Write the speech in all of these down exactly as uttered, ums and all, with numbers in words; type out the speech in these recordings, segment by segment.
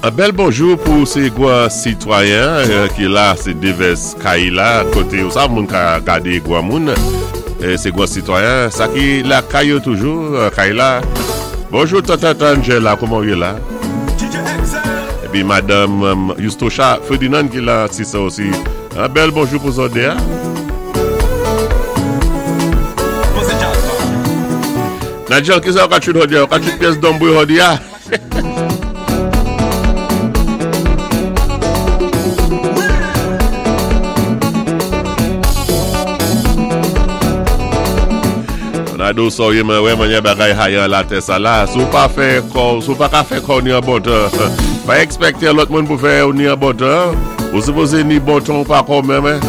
An bèl bonjou pou sé gwan sitwayen euh, ki la, sé divès kay la, koté ou sa moun ka gadé gwan moun, é sé gwan sitwayen, sa ki la kay yo toujou, euh, kay la. Bonjou tante Angela, kouman ou yé la? Épi madanm euh, Yustosha Ferdinand ki la, si sa osi. An bèl bonjou pou zòt dé. Nigel, ki sa ou ka chwit hodi a? Ou ka chwit pyès donbwi hodi a? Ronaldo sa ou yé mwen wè manyè bagay hayan la tè sa la. Si ou pa fè kò, si ou pa ka fè kò ni an bon tan, pa èkspèkté lòt moun pou fè ou ni an bon tan. Ou sipozé ni bon tan ou pa kò menm, hein.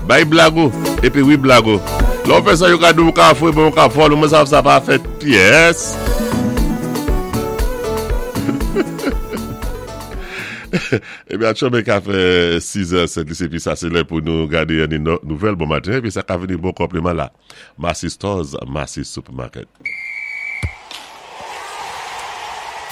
Bay blag ou, épi wi blag ou. Lè ou fè sa yo ka di ou ka fwe, bon ou ka fòl, ou mwen sa sa pa fèt pyès. Ébi atchòmé ka fè sis è sent épi sa sé lè pou nou gadé yon nouvèl bon maten épi sa ka vini bon konpléman la. Massy Stores, Massy Supermarket.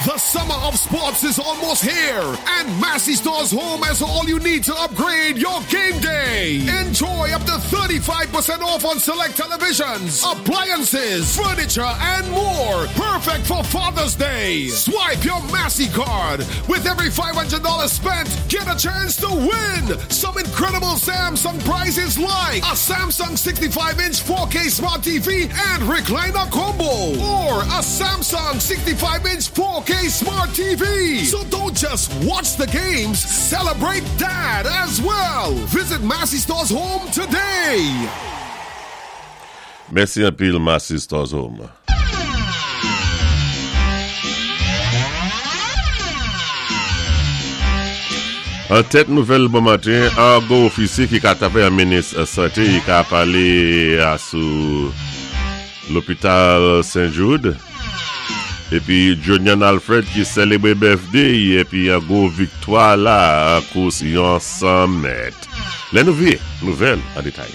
The summer of sports is almost here, and Massy Stores Home has all you need to upgrade your game day. Enjoy up to thirty-five percent off on select televisions, appliances, furniture, and more. Perfect for Father's Day. Swipe your Massy card. With every five hundred dollars spent, get a chance to win some incredible Samsung prizes like a Samsung sixty-five inch four K Smart T V and recliner combo, or a Samsung sixty-five inch four K Smart T V. So don't just watch the games, celebrate Dad as well. Visit Massy Stores Home today. Mèsi anpil Massy Stores Home. An tèt nouvèl bon maten, an gwo ofisyé ki ka tapé an minis santé, i ka palé a sou lopital Saint Jude. Épi Jonian Alfred ki sélébwé birthday épi an gwo viktwa la an kous yon san mèt. Lè nou vyé, nouvèl an détay.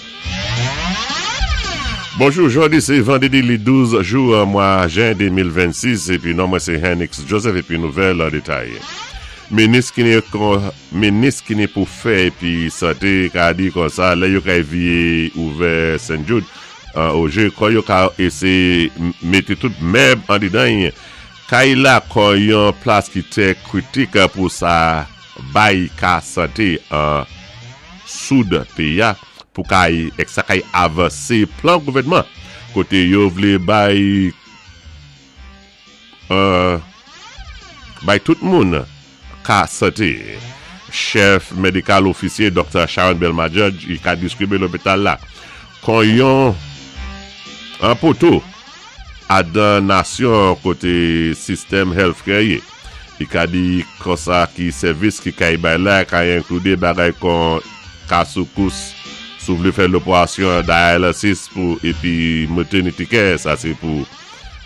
Bonjou, jòdi sé vandédi li douz jou an mwa jen de mil vennsis épi non mwen sé Henix Joseph épi nouvèl an détay. Minis ki ni minis ki ni pou fè épi santé ka di kon sa lè yo ka vyé ouvè Saint Jude an oje kon yo ka éséyé mété tout mèb an didan kay la kon yon plas ki té kritik pou sa bay ka santé an soud péyi a pou kay ek sa kay avansé plan gouvèdman koté yo vlé bay euh, bay tout moun ka santé. Chèf médikal ofisyé Doktè Sharon Bell-Major i ka diskribé lopital la kon yon an poto adan nasyon koté sistèm healthcare yé. I ka di kon sa ki sèvis ki kay bay la ka enklidé bagay kon ka soukous si ou vlé fè lopérasyon dialysis pou épi maternity care, sa sé pou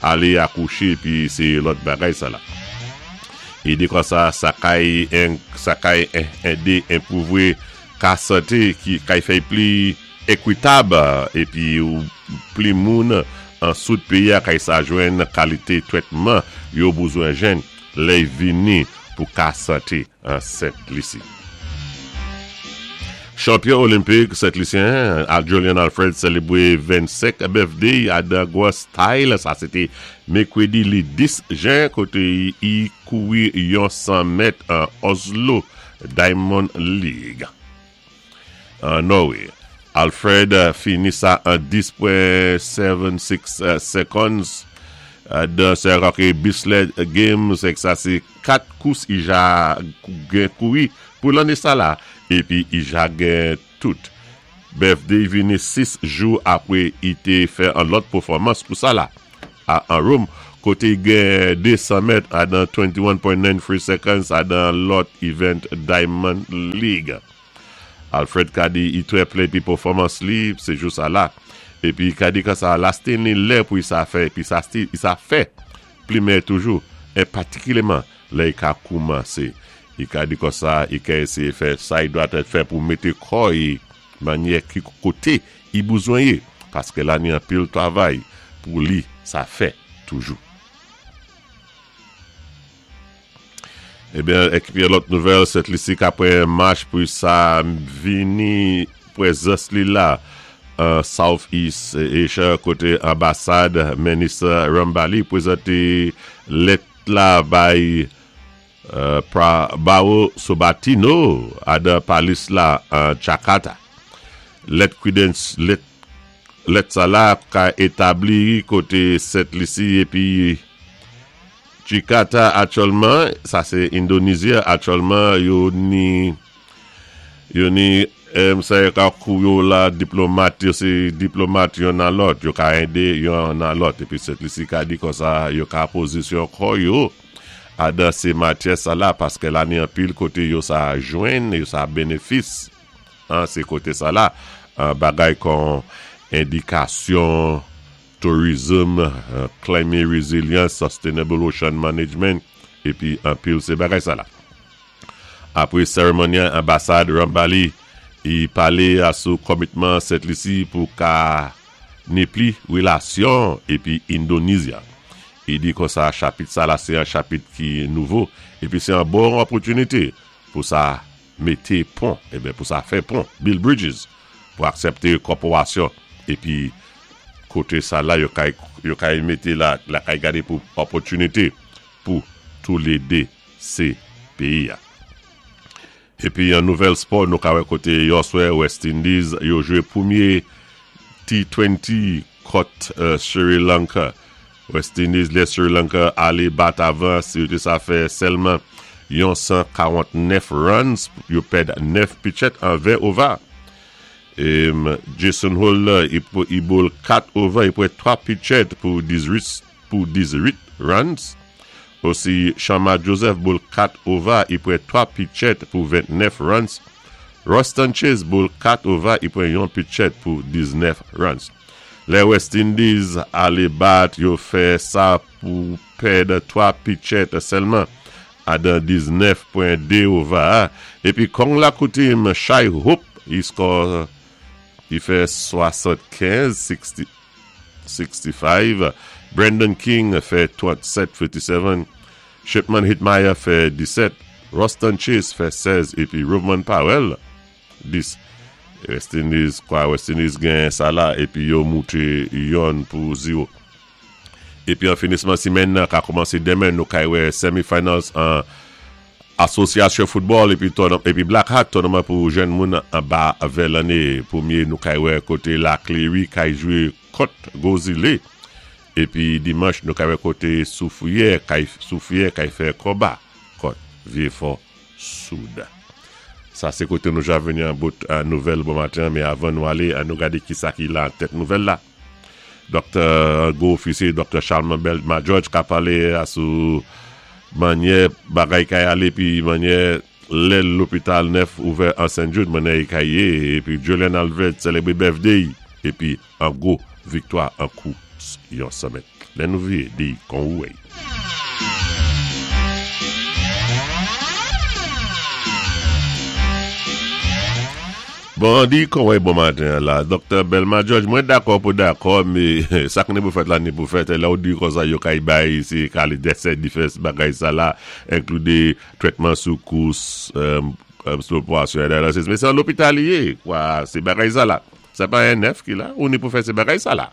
alé akouché épi sé lòt bagay sa la. I di kon sa, sa kay en, sa kay édé enpwouvé ka santé ki kay fè pli ékwitab épi ou pli moun an soud péyi a kay sa jwenn kalité twètman yo bezwen jwenn lè vini pou ka santé an Sent Lisi. Chanpyon olenpik Sent Lisyen, Jolian Alfred sélébwé vennsenk birthday adan gwo style, sa sé té mèkwédi li dis jen koté i kouri yon san mèt an Oslo Diamond League. An Norway. Alfred fini sa an dis pwen sèt sis seconds dan se roke Bislett Games ek sa sé kat kous i ja gen kouri pou lanné sa la épi i ja gen tout. Birthday vini sis jou apwé i té fè an lòt pèfòmans pou sa la a an Rome koté gen de san mèt adan venteyen pwen nèf twa seconds adan lòt event Diamond League. Alfred ka di i twè plé pi pèfòmans li sé jou sa la. Épi ka di ka sa la ni lè pou i sa fè épi sa sti, i sa fè pli mè toujou é patikilyèman lè i ka koumansé. I ka di kon sa, i ka éséyé fè sa i dwa tèt fè pou mété kò i manyè ki koté i bezwen yé paské la ni anpil twavay pou li sa fè toujou. Ébyen, épi lòt nouvèl, Sent Lisi ka pwan mach pou sa vini pwézans li la an South East Asia koté anbasad minis Rambally pwézanté lèt la bay euh, Prabowo Subianto adan palis la an Jakarta. Lèt kwidans lèt lèt sa la ka établi koté Sent Lisi épi Jakarta aktyèlman, sa sé Endonezi aktyèlman yo ni yo ni em, sa yo ka kou yo la diplomat yo sé diplomat yon nan lòt, yo ka édé yon nan lòt épi Sent Lisi ka di konsa yo ka pozisyon kò yo adan sé matyè sa la paské la ni anpil koté yo sa jwenn yo sa bénéfis an sé koté sa la an bagay kon édikasyon tourism, uh, climate resilience, sustainable ocean management épi anpil sé bagay sa la. Apwé sérémoni anbasad Rambally i palé a sou komitman Sent Lisi pou ka ni pli relasyon épi Endonezya. I di konsa chapit sa la sé an chapit ki nouvo épi sé an bon opòtinité pou sa mété pon, ébyen pou sa fè pon, build bridges pou aksepté kòporasyon épi koté sa la yo kay yo kay mété la la kay gadé pou opòtinité pou tou lé dé sé péyi a. Épi an nouvèl spò nou ka wè koté yèswè West Indies yo jwé pwémyé T twenty kont uh, Sri Lanka. West Indies lè Sri Lanka alé bat avan, si yo sa fè sèlman yon san karant-nèf runs, yo pèd nèf pitchèt an ven over. É, Jason Holder, i, i bowl kat over, i pwan twa pitchèt pou dizuit pou dizuit runs. Osi Shamar Joseph bowl kat over, i pwan twa pitchèt pou vennèf runs. Roston Chase bowl kat over, i pwan yon pitchèt pou diznèf runs. Lè West Indies alé bat, yo fè sa pou pèd twa pitchèt sèlman adan diznèf pwen dé over. Épi kon la koutim Shai Hope, i score i fè swasannkenz, sixty, sixty-five. Brandon King fè trannsèt, tranntsèt. Shipman Hetmyer fè disèt. Roston Chase fè sèz. Épi Rovman Powell, dis. West Indies, kwa West Indies gen sa la, épi yo mouté yon pou zéwo. Épi an finisman simenn ka kòmansé denmen, nou kay wè semifinals an Asosyasyon football épi, épi Black Hat tournament pou jèn moun anba ven lanné. Pwémyé nou kay wè koté La Cléry kay jwé kont Gozile. Épi dimanch nou kay wè koté Soufrière kay, Soufrière kay fè konba kont Vieux-Fort Soud. Sa sé koté nou ja vini an bout an nouvèl bon maten, mé avan nou alé, an nou gadé ki sa ki la an tèt nouvèl la. Doktè, gwo ofisyé, Doktè Charlemagne Belma George ka palé a sou manyè bagay kay alé pi manyè lè lopital nèf ouvè an Saint Jude manyè kay yé épi Julian Alfred sélébré birthday épi an gwo viktwa an kous yon san mèt. Lè nou vyé di kon ouwè. Bon, di kon wè bon maten la, Doktè Belma George, mwen dakò pou dakò, mé sa ki ni pou fèt la ni pou fèt, la ou di konsa yo kay bay, sé ka alé désè difès bagay sa la, enkludé trétman sou kous, euh, sou operasyon dialysis, mé sé an lopital li yé, kwa, sé bagay sa la. Sé pa yon nèf ki la, ou ni pou fè sé bagay sa la.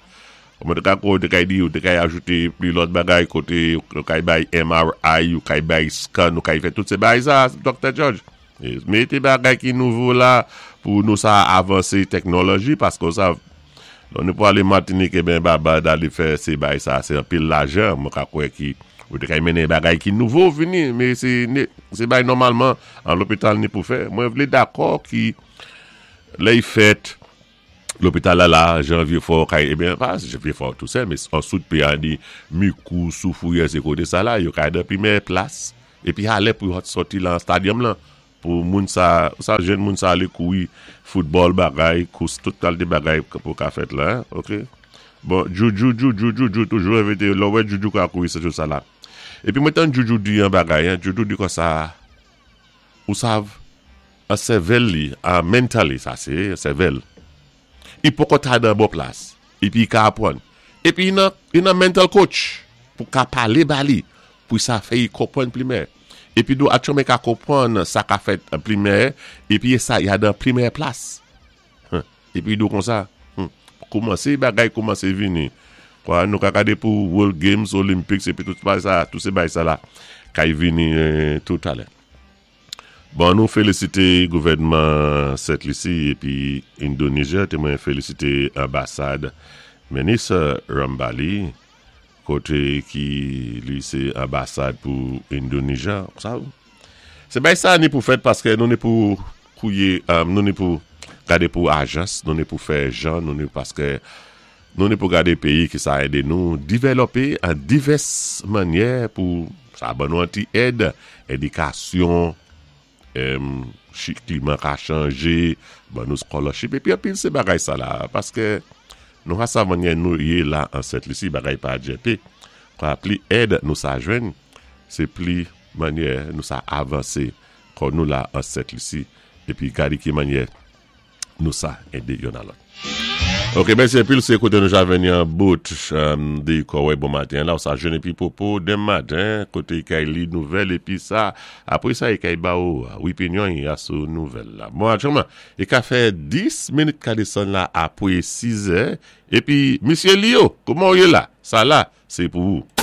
Ou mwen te ka kou, te kay di, ou te kay ajouté pli lòt bagay koté, ou kay bay M R I, ou kay bay scan, ou kay fè tout sé bagay sa, Doktè George. Mété bagay ki nouvo la pou nou sa avansé teknoloji paské sa nou pou alé Martinique ben Barbade alé fè sé bagay sa, sé anpil lajan mwen ka kwè ki ou te kay mennen bagay ki nouvo vini, mé sé sé bagay nòmalman an lopital ni pou fè. Mwen vlé dakò ki lè y fèt lopital la la, jan Vieux-Fort kay, ébyen pa Vieux-Fort tou sèl, mé an sout pi an di Micoud, Soufrière, sé koté sa la, yo kay dan pi mèyè plas, épi alé pou sòti lan stadium lan, pou moun sa, sa jèn moun sa alé kouri football bagay, kous tout kalté bagay pou ka fèt la, ok? Bon, Juju, Juju, Juju, toujou envité, lò wè Juju ka kouri se sa la. Épi mwen tan Juju di yon bagay, hein, Juju di konsa, ou sav, an sèvèl li, an mentally, sa sé, sèvèl, i poko ta dan bon plas, épi i ka apwann. Épi i nan, i nan mental coach, pou ka palé ba li, pou sa fè i konpwann pli mè. Épi nou atyanman ka konpwann sa ka fèt an pli mèyè, épi sa ya dan pli mèyè plas. Épi nou konsa, koumansé bagay koumansé vini. Kwa nou ka gadé pou World Games, Olympics, épi tout sa, tout sé bagay sa la, kay vini tout alè. Bon, nou félisité gouvèdman Sent Lisi épi Indonézia, té mwen félisité anbasad Minis Rambali, koté ki li sé anbasad pou Indonézia. Sa, sé bagay sa ni pou fèt paské nou ni pou kouwé, nou ni pou gadé pou ajans, nou ni pou fè jan, nou ni paské nou ni pou gadé péyi ki sa édé nou dévlopé an divès mannyè pou sa ban nou an ti èd, édikasyon, klima ka chanjé, ban nou scholarship, épi anpil sé bagay sa la, paské nou ha sa mannyè nou yé la an Sent Lisi, bagay pa djèpé, kwa pli èd nou sa jwenn, sé pli mannyè nou sa avansé kon nou la an Sent Lisi, épi gadé ki mannyè nou sa édé youn a lòt. Ok, mèsi anpil, sé koté nou ja vini an bout di kòwé bon maten la, ou sa jwenn épi popo den maten, koté kay li nouvèl, épi sa, apwé sa i kay ba ou, wipinyon ya sou nouvèl la. Bon, atyanman, i ka fè dis minit ka desann la apwé sis è, épi, Misye Lio, kouman ou yé la? Sa la, sé pou ou.